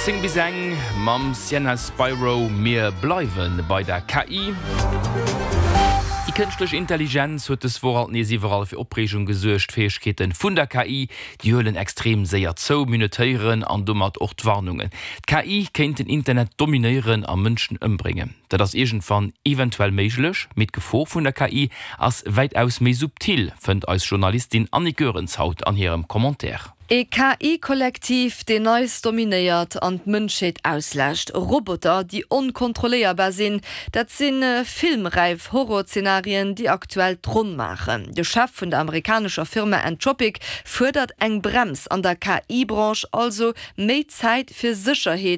10 bis eng mam Sienna Spiro. Mir bleiwe bei der KI. Déi kënschtlech Intelligenz huet dës Woch alt nees iwwerall fir Opreegung gesuergt. D'Fäegkeete vun der KI, déi huelen extrem séier zou. Mir hunn et héieren an domat och d'Warnungen. D'KI kéint den Internet dominéieren a Mënschen ëmbréngen. Dat ass iergendwann eventuell méiglech, mee d'Gefor vun der KI ass wäitaus méi subtil, fënnt eis Journalistin Annick Goerens haut an hirem Commentaire. E KI-Kollektiv, deen eis dominéiert an d'Mënschheet ausläscht. Roboter, déi onkontrolléierbar sinn. Dat si filmräif Horrorzenarien, déi aktuell d'Ronn maachen. De Chef vun der amerikanescher Firma Anthropic fuerdert eng Brems an der KI-Branche, also méi Zäit fir Sécherheet.